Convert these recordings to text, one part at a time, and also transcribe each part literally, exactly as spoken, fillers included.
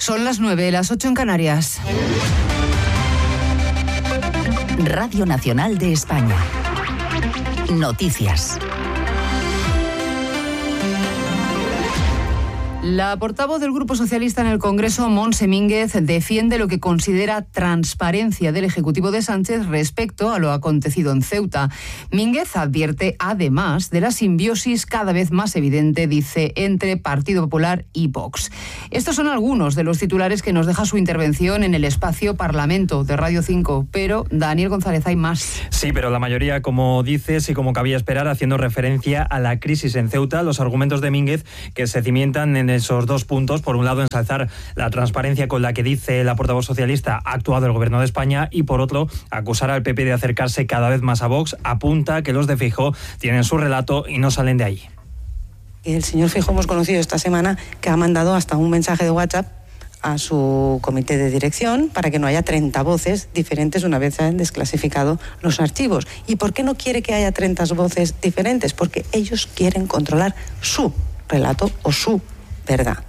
Son las nueve, las ocho en Canarias. Radio Nacional de España. Noticias. La portavoz del Grupo Socialista en el Congreso, Montse Mínguez, defiende lo que considera transparencia del Ejecutivo de Sánchez respecto a lo acontecido en Ceuta. Mínguez advierte, además, de la simbiosis cada vez más evidente, dice, entre Partido Popular y Vox. Estos son algunos de los titulares que nos deja su intervención en el espacio Parlamento de Radio cinco, pero, Daniel González, hay más. Sí, pero la mayoría, como dices y como cabía esperar, haciendo referencia a la crisis en Ceuta, los argumentos de Mínguez que se cimientan en esos dos puntos. Por un lado, ensalzar la transparencia con la que, dice la portavoz socialista, ha actuado el Gobierno de España, y por otro, acusar al P P de acercarse cada vez más a Vox. Apunta que los de Feijóo tienen su relato y no salen de ahí. El señor Feijóo hemos conocido esta semana que ha mandado hasta un mensaje de WhatsApp a su comité de dirección para que no haya treinta voces diferentes una vez se han desclasificado los archivos. ¿Y por qué no quiere que haya treinta voces diferentes? Porque ellos quieren controlar su relato o su verdad.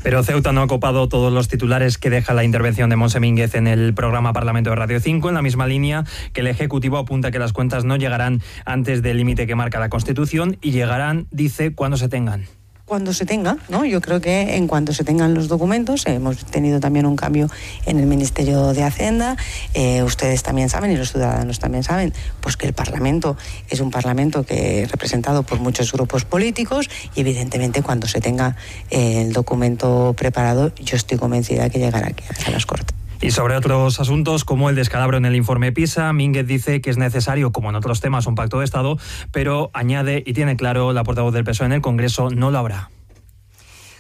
Pero Ceuta no ha copado todos los titulares que deja la intervención de Montse Mínguez en el programa Parlamento de Radio cinco, en la misma línea que el Ejecutivo apunta que las cuentas no llegarán antes del límite que marca la Constitución y llegarán, dice, cuando se tengan. Cuando se tenga, ¿no? Yo creo que en cuanto se tengan los documentos, hemos tenido también un cambio en el Ministerio de Hacienda, eh, ustedes también saben y los ciudadanos también saben, pues que el Parlamento es un Parlamento que es representado por muchos grupos políticos y evidentemente cuando se tenga eh, el documento preparado, yo estoy convencida que llegará aquí a las Cortes. Y sobre otros asuntos, como el descalabro en el informe PISA, Mínguez dice que es necesario, como en otros temas, un pacto de Estado, pero añade y tiene claro la portavoz del P S O E en el Congreso, no lo habrá.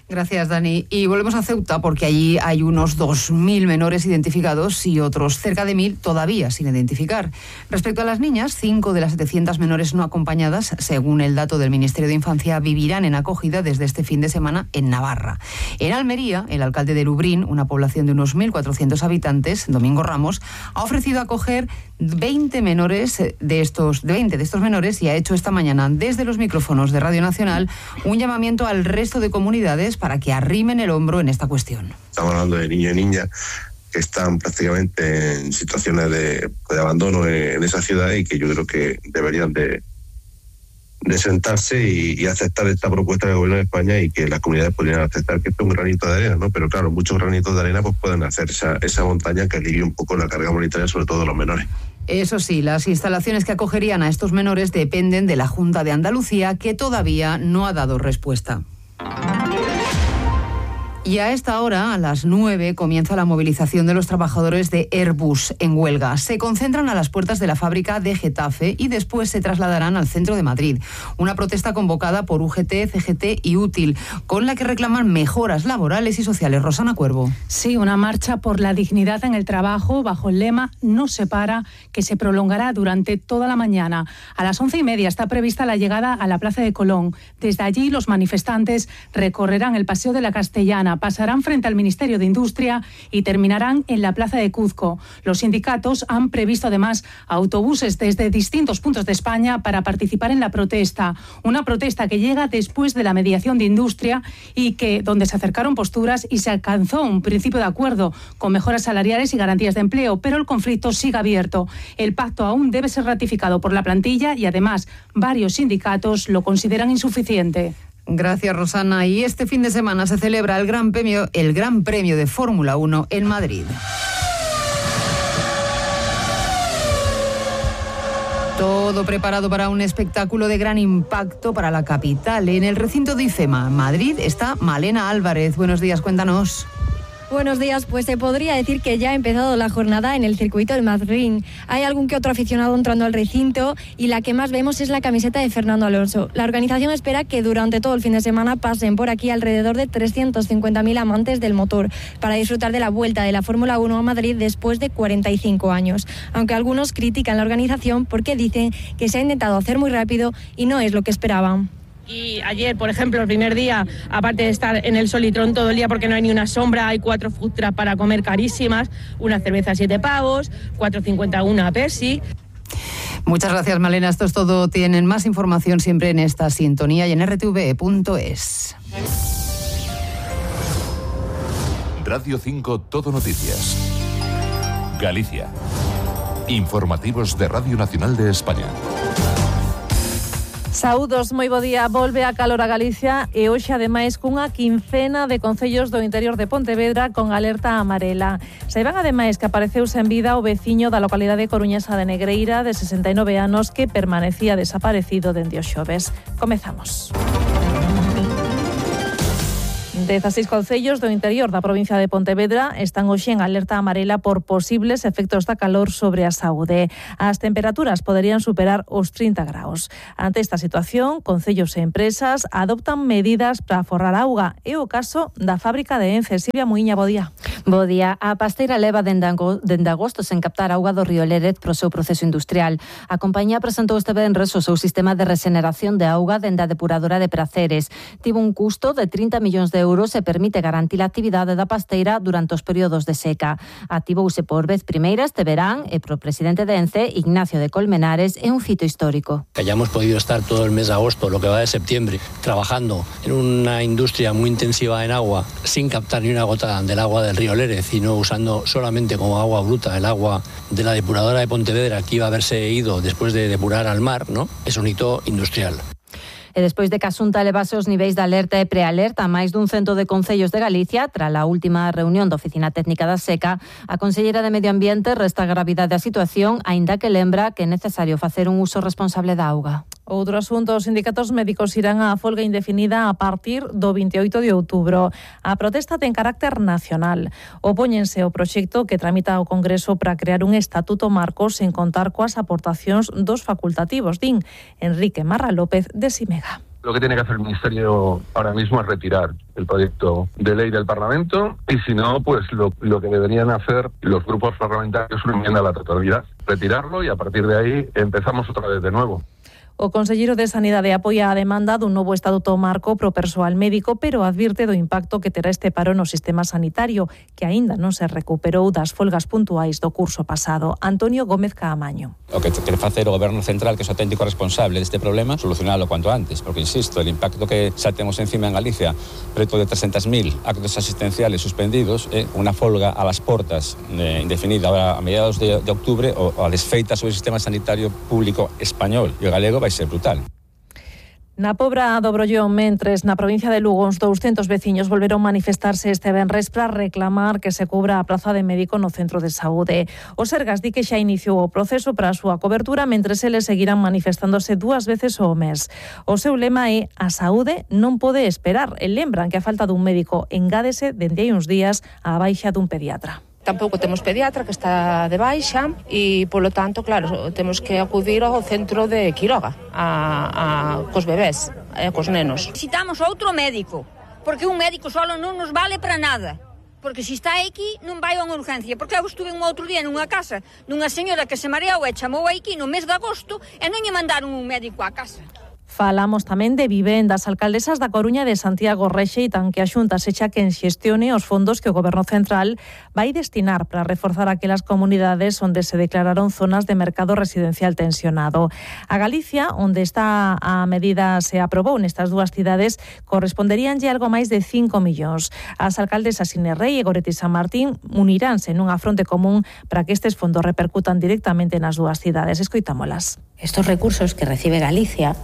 Gracias, Dani. Y volvemos a Ceuta porque allí hay unos dos mil menores identificados y otros cerca de mil todavía sin identificar. Respecto a las niñas, cinco de las setecientas menores no acompañadas, según el dato del Ministerio de Infancia, vivirán en acogida desde este fin de semana en Navarra. En Almería, el alcalde de Lubrín, una población de unos mil cuatrocientos habitantes, Domingo Ramos, ha ofrecido acoger veinte menores de estos, veinte de estos menores y ha hecho esta mañana desde los micrófonos de Radio Nacional un llamamiento al resto de comunidades para que arrimen el hombro en esta cuestión. Estamos hablando de niños y niñas que están prácticamente en situaciones de, de abandono en, en esa ciudad y que yo creo que deberían de, de sentarse y, y aceptar esta propuesta del Gobierno de España y que las comunidades podrían aceptar que esto es un granito de arena, ¿no? Pero claro, muchos granitos de arena pues pueden hacer esa, esa montaña que alivie un poco la carga monetaria, sobre todo de los menores. Eso sí, las instalaciones que acogerían a estos menores dependen de la Junta de Andalucía, que todavía no ha dado respuesta. Y a esta hora, a las nueve, comienza la movilización de los trabajadores de Airbus en huelga. Se concentran a las puertas de la fábrica de Getafe y después se trasladarán al centro de Madrid. Una protesta convocada por U G T, C G T y Útil, con la que reclaman mejoras laborales y sociales. Rosana Cuervo. Sí, una marcha por la dignidad en el trabajo bajo el lema No se para, que se prolongará durante toda la mañana. A las once y media está prevista la llegada a la Plaza de Colón. Desde allí los manifestantes recorrerán el Paseo de la Castellana, pasarán frente al Ministerio de Industria y terminarán en la Plaza de Cuzco. Los sindicatos han previsto además autobuses desde distintos puntos de España para participar en la protesta. Una protesta que llega después de la mediación de Industria y que donde se acercaron posturas y se alcanzó un principio de acuerdo con mejoras salariales y garantías de empleo, pero el conflicto sigue abierto. El pacto aún debe ser ratificado por la plantilla y además varios sindicatos lo consideran insuficiente. Gracias, Rosana. Y este fin de semana se celebra el Gran Premio, el Gran Premio de Fórmula uno en Madrid. Todo preparado para un espectáculo de gran impacto para la capital. En el recinto de IFEMA, Madrid, está Malena Álvarez. Buenos días, cuéntanos. Buenos días, pues se podría decir que ya ha empezado la jornada en el circuito del Madrid. Hay algún que otro aficionado entrando al recinto y la que más vemos es la camiseta de Fernando Alonso. La organización espera que durante todo el fin de semana pasen por aquí alrededor de trescientos cincuenta mil amantes del motor para disfrutar de la vuelta de la Fórmula uno a Madrid después de cuarenta y cinco años. Aunque algunos critican la organización porque dicen que se ha intentado hacer muy rápido y no es lo que esperaban. Y ayer, por ejemplo, el primer día, aparte de estar en el Solitrón todo el día porque no hay ni una sombra, hay cuatro food trucks para comer carísimas, una cerveza a siete pavos, cuatro cincuenta una Pepsi. Muchas gracias, Malena. Esto es todo. Tienen más información siempre en esta sintonía y en r t v punto es. Radio cinco Todo Noticias. Galicia. Informativos de Radio Nacional de España. Saúdos, moi bo día. Volve a calor a Galicia e hoxe ademais cunha quincena de concellos do interior de Pontevedra con alerta amarela. Saiban ademais que apareceu sen vida o veciño da localidade coruñesa de Negreira de sesenta e nove anos que permanecía desaparecido dende o xoves. Comezamos. dezasseis concellos do interior da provincia de Pontevedra están hoxe en alerta amarela por posibles efectos da calor sobre a saúde. As temperaturas poderían superar os trinta graus. Ante esta situación, concellos e empresas adoptan medidas para aforrar auga. É o caso da fábrica de Ence. Silvia Muiña, bo día. Bo día. A pasteira leva dende agosto sen captar auga do río Lérez pro seu proceso industrial. A compañía presentou este venres o seu sistema de regeneración de auga dende a depuradora de Praceres. Tivo un custo de trinta millóns de euros e permite garantir a actividade da pasteira durante os períodos de seca. Activouse por vez primeira este verán e pro presidente de Ence, Ignacio de Colmenares, é un fito histórico. Que hayamos podido estar todo el mes de agosto, lo que va de septiembre, trabajando en una industria muy intensiva en agua, sin captar ni una gota del agua del río Lérez, sino usando solamente como agua bruta el agua de la depuradora de Pontevedra, que iba a haberse ido después de depurar al mar, ¿no? Es un hito industrial. E despois de que a Xunta elevase os niveis de alerta e prealerta a máis dun cento de concellos de Galicia, tras a última reunión da Oficina Técnica da Seca, a conselleira de Medio Ambiente resta a gravidade da situación, aínda que lembra que é necesario facer un uso responsable da auga. Outro asunto, os sindicatos médicos irán á folga indefinida a partir do vinte e oito de outubro. A protesta ten carácter nacional. Opóñense ao proxecto que tramita o Congreso para crear un estatuto marco sen contar coas aportacións dos facultativos, din Enrique Marra López de Simega. Lo que tiene que hacer el Ministerio ahora mismo es retirar el proyecto de ley del Parlamento y si no, pues lo, lo que deberían hacer los grupos parlamentarios es una enmienda a la totalidad, retirarlo y a partir de ahí empezamos otra vez de nuevo. O conselleiro de Sanidade apoia a demanda dun novo estatuto marco pro persoal médico, pero advirte do impacto que terá este paro no sistema sanitario, que aínda non se recuperou das folgas puntuais do curso pasado. Antonio Gómez Caamaño. O que quere facer o Goberno Central, que é o auténtico responsable deste problema, solucionalo cuanto antes, porque, insisto, el impacto que xa temos encima en Galicia, preto de trescentos mil actos asistenciales suspendidos, é unha folga a las portas eh, indefinida ahora a mediados de, de octubre o a desfeita sobre o sistema sanitario público español e o galego vai ser brutal. Na Pobra do Brollón, mentres na provincia de Lugo, uns douscentos veciños volveron manifestarse este venres para reclamar que se cubra a praza de médico no centro de saúde. O Sergas di que xa iniciou o proceso para a súa cobertura, mentres eles seguirán manifestándose dúas veces ao mes. O seu lema é a saúde non pode esperar e lembran que a falta dun médico engádese dende hai uns días á baixa dun pediatra. Tampouco temos pediatra que está de baixa e, polo tanto, claro, temos que acudir ao centro de Quiroga a, a, cos bebés e cos nenos. Necesitamos outro médico, porque un médico solo non nos vale para nada. Porque se está aquí non vai a unha urgencia. Porque eu estuve un outro día nunha casa dunha señora que se mareou e chamou aquí no mes de agosto e non lle mandaron un médico á casa. Falamos tamén de vivendas. Alcaldesas da Coruña e de Santiago rexeitan que a Xunta sexa quen xestione os fondos que o Goberno Central vai destinar para reforzar aquelas comunidades onde se declararon zonas de mercado residencial tensionado. A Galicia, onde está a medida se aprobou nestas dúas cidades, corresponderíanlle algo máis de cinco millóns. As alcaldesas Inés Rei e Goretti San Martín uniránse nunha fronte común para que estes fondos repercutan directamente nas dúas cidades. Escoitámolas. Estos recursos que recibe Galicia,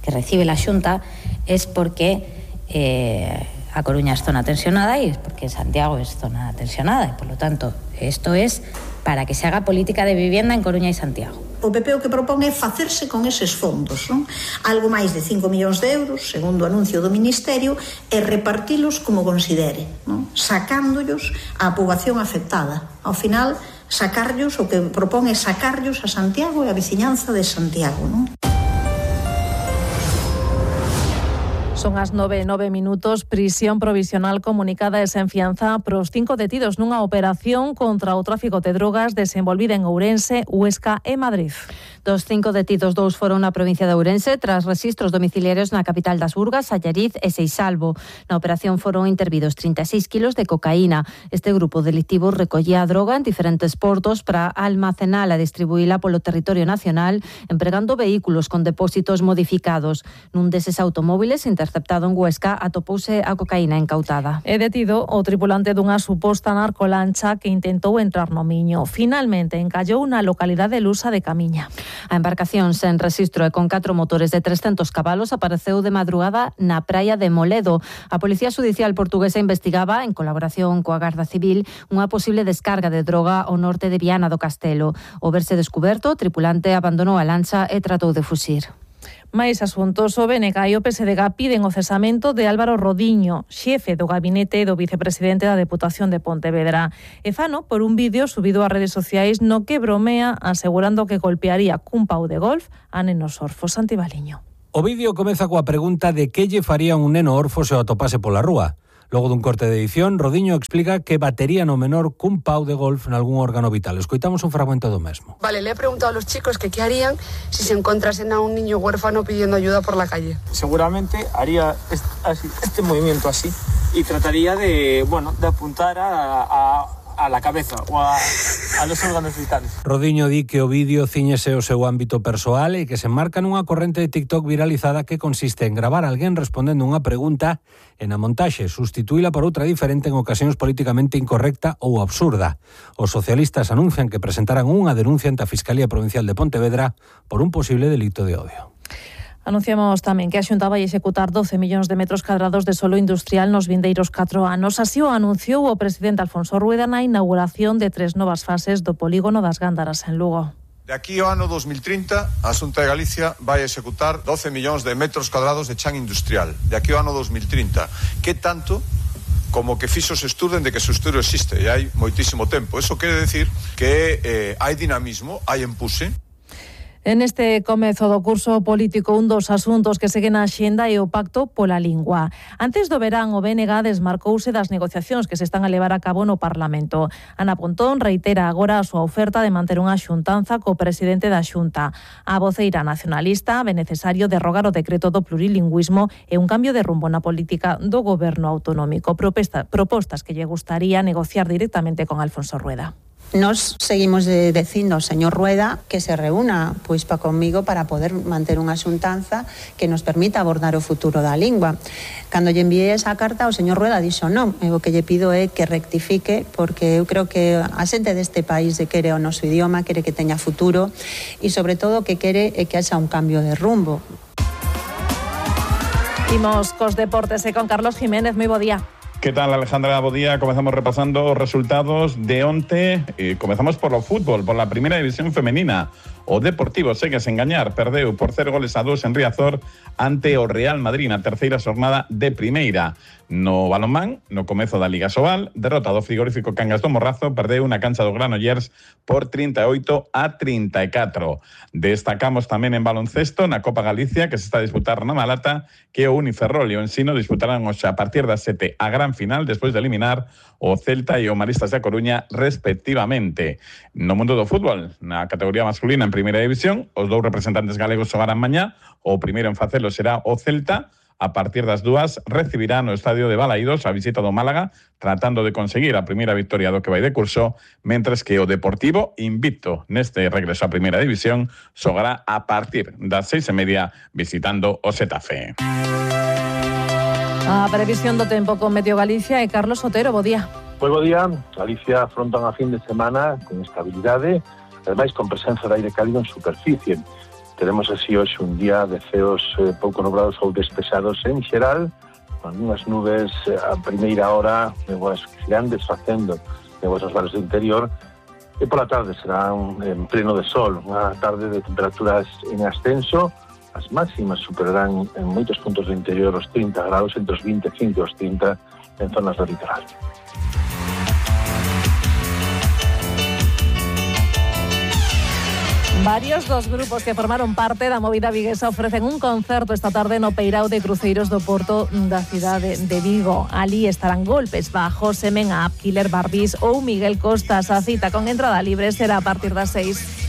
que recibe la Xunta, es porque eh, a Coruña es zona tensionada y es porque Santiago es zona tensionada. Y por lo tanto, esto es para que se haga política de vivienda en Coruña y Santiago. O P P o que propón é facerse con eses fondos, non? Algo máis de cinco millóns de euros, segundo o anuncio do Ministerio, e repartilos como considere, non? Sacándollos á poboación afectada. Ao final, sacarllos, o que propón é sacarllos a Santiago e a veciñanza de Santiago, non? Son as nove e nove minutos. Prisión provisional comunicada e sen fianza pros cinco detidos nunha operación contra o tráfico de drogas desenvolvida en Ourense, Huesca e Madrid. Dos cinco detidos, dous foron na provincia de Ourense tras registros domiciliarios na capital das Burgas, Allariz e Seixalbo. Na operación foron intervidos trinta e seis kilos de cocaína. Este grupo delictivo recollía a droga en diferentes portos para almacenala e distribuíla polo territorio nacional empregando vehículos con depósitos modificados. Nun deses automóviles interceptados interceptado en Huesca atopouse a cocaína incautada. É detido o tripulante dunha suposta narcolancha que intentou entrar no Miño. Finalmente encallou na localidade lusa de Camiña. A embarcación sen rexistro e con catro motores de trescentos cabalos apareceu de madrugada na praia de Moledo. A Policía Judicial portuguesa investigaba, en colaboración coa Garda Civil, unha posible descarga de droga ao norte de Viana do Castelo. O verse descuberto, o tripulante abandonou a lancha e tratou de fuxir. Mais asuntos, o B N G e o P S D G piden o cesamento de Álvaro Rodiño, xefe do gabinete do vicepresidente da Deputación de Pontevedra. E fano por un vídeo subido ás redes sociais no que bromea asegurando que golpearía cun pau de golf a nenos orfos. Santi Baliño. O vídeo comeza coa pregunta de que lle faría un neno orfo se o atopase pola rúa. Logo dun corte de edición, Rodiño explica que batería no menor cun pau de golf en algún órgano vital. Escoitamos un fragmento do mesmo. Vale, le he preguntado a los chicos que qué harían si se encontrasen a un niño huérfano pidiendo ayuda por la calle. Seguramente haría este, así, este movimiento así y trataría de, bueno, de apuntar a... a a la cabeza ou a, a los órganos vitales. Rodiño di que o vídeo ciñese o seu ámbito persoal e que se marca nunha corrente de TikTok viralizada que consiste en gravar a alguén respondendo unha pregunta e na montaxe sustituíla por outra diferente en ocasións políticamente incorrecta ou absurda. Os socialistas anuncian que presentarán unha denuncia ante a Fiscalía Provincial de Pontevedra por un posible delito de odio. Anunciamos tamén que a Xunta vai executar doce millóns de metros cadrados de solo industrial nos vindeiros catro anos. Así o anunciou o presidente Alfonso Rueda na inauguración de tres novas fases do polígono das Gándaras en Lugo. De aquí ao ano dos mil trinta, a Xunta de Galicia vai executar doce millóns de metros cadrados de chan industrial. De aquí ao ano dos mil trinta. Que tanto como que fixo se estudo de que ese estudo existe e hai moitísimo tempo. Eso quere decir que eh, hai dinamismo, hai empuje. En este comezo do curso político, un dos asuntos que seguen na axenda é o pacto pola lingua. Antes do verán, o B N G desmarcouse das negociacións que se están a levar a cabo no Parlamento. Ana Pontón reitera agora a súa oferta de manter unha xuntanza co presidente da Xunta. A voceira nacionalista ve necesario derrogar o decreto do plurilingüismo e un cambio de rumbo na política do goberno autonómico. Proposta, propostas que lle gustaría negociar directamente con Alfonso Rueda. Nos seguimos de, dicindo ao señor Rueda que se reúna pois pa conmigo para poder manter unha xuntanza que nos permita abordar o futuro da lingua. Cando lle enviei esa carta, o señor Rueda dixo non, e o que lle pido é que rectifique, porque eu creo que a xente deste país quere o noso idioma, quere que teña futuro e sobre todo que quere é que haxa un cambio de rumbo. Imos cos deportes e con Carlos Jiménez, moi bo día. ¿Qué tal, Alejandra? Buen día. Comenzamos repasando os resultados de onte. Eh, comezamos por o fútbol, por la primera división femenina. O Deportivo segue sen gañar, perdeu por cero goles a dos en Riazor ante o Real Madrid na terceira xornada de primeira. No balonmán, no comezo da Liga Sobal, derrota do frigorífico Cangas do Morrazo, perdeu na cancha do Granollers por trinta e oito a trinta e catro. Destacamos tamén en baloncesto na Copa Galicia, que se está a disputar na Malata, que o Uniferrol e o Ensino disputarán hoxe a partir das sete a gran final, despois de eliminar o Celta e o Maristas da Coruña, respectivamente. No mundo do fútbol, na categoría masculina en primeira división, os dous representantes galegos xogarán mañá. O primeiro en facelo será o Celta. A partir das dúas recibirá no estadio de Balaídos a visita do Málaga, tratando de conseguir a primeira victoria do que vai de curso, mentres que o Deportivo, invicto neste regreso a primeira división, xogará a partir das seis e media visitando o Xetafe. A previsión do tempo con Meteo Galicia e Carlos Otero, bo día. Pois bo día, Galicia afronta unha fin de semana con estabilidade, ademais con presenza de aire cálido en superficie. Teremos así hoxe un día de ceos eh, pouco nubrados ou despesados en xeral, con unhas nubes eh, a primeira hora nevoas que se irán desfacendo, nevoas nos bares do interior, e pola tarde será un, en pleno de sol, unha tarde de temperaturas en ascenso. As máximas superarán en moitos puntos do interior os trinta graus, entre os vinte e cinco e os trinta en zonas do litoral. Varios dos grupos que formaron parte da movida viguesa ofrecen un concerto esta tarde no Peirao de Cruceiros do Porto da cidade de Vigo. Ali estarán Golpes Bajos, Semen Up, Killer Barbis ou Miguel Costas. A cita con entrada libre será a partir das seis.